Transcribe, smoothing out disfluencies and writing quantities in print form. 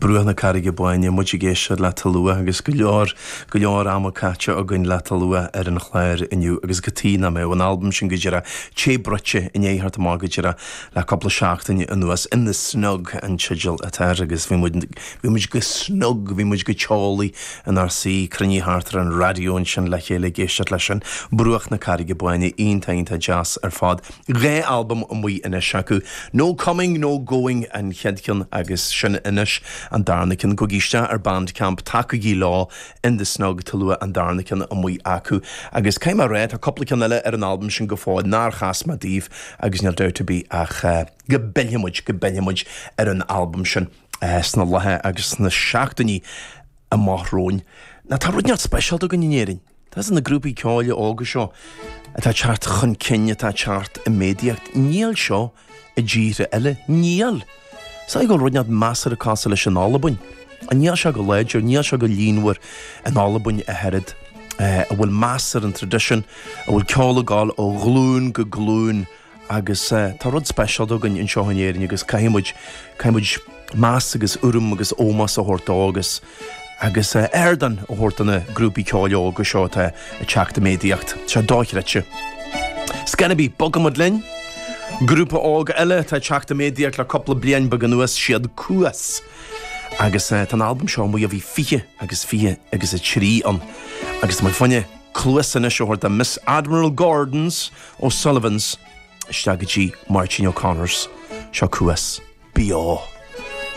Bruach na Carraige Báine, muid ag éisteacht le Tolua agus go leor, go leor ama caite againn le Tolua ar an chlár inniu agus cad chuige nach mbeadh an albam sin go díreach te bruite i ndiaidh theacht amach go díreach le cúpla seachtain anuas. In the Snug an teideal atá air agus bhí muid, bhí muid go snug, bhí muid go teolaí inár suí, cruinnithe thart ar an raidió ansin le chéile ag éisteacht leis sin. Bruach na Carraige Báine, iontach, iontach deas ar fad. 2 albam amuigh anois acu, No Coming No Going an chéad cheann agus sin anois an darna ceann. Gabhaigí isteach ar Bandcamp, tacaígí leo, In The Snug, Tolua an darna ceann amuigh acu. Agus caithfidh mé a rá, tá cúpla ceann eile ar an albam sin go fóill nár chas mé daoibh agus níl dabht ar bith ach go bpillfidh muid, go bpillfidh muid ar an albam sin sna laetha agus sna seachtainí amach romhainn. Now tá rud inteacht speisialta againn in Éirinn. Tá na grúpaí ceoil óga seo atá ag teacht chun cinn, atá ag teacht i méadaíocht. Níl seo i dtíortha eile. Níl! Is dóigh go bhfuil rud inteacht measartha cosúil leis in Albain. Níl sé go láidir, níl sé go líonmhar in Albain ach oiread. A bhfuil meas ar an traidisiún, a bhfuil ceol ag gabháil ó ghlúin go glúin. Agus tá rud speisialta againn anseo in Éirinn agus caithfidh muid, caithfidh muid meas agus urraim agus ómós a thabhairt dó agus, agus ardán a thabhairt do na grúpaí ceoil óga seo atá ag teacht i méadaíocht. Tá sé dochreidte. Scor ar bith, bogfaidh muid linn. Grúpa óg eile atá ag teacht i méadaíocht le cúpla bliain beag anuas, siad Cuas. Agus tá an albam seo amuigh ó bhí 20 agus 20 agus 3 ann. Agus tá muid fá choinne cluas anois a thabhairt do Miss Admiral Gordon's O'Sullivan's isteach go dtí Máirtín O'Connor's. Seo Cuas. Beo.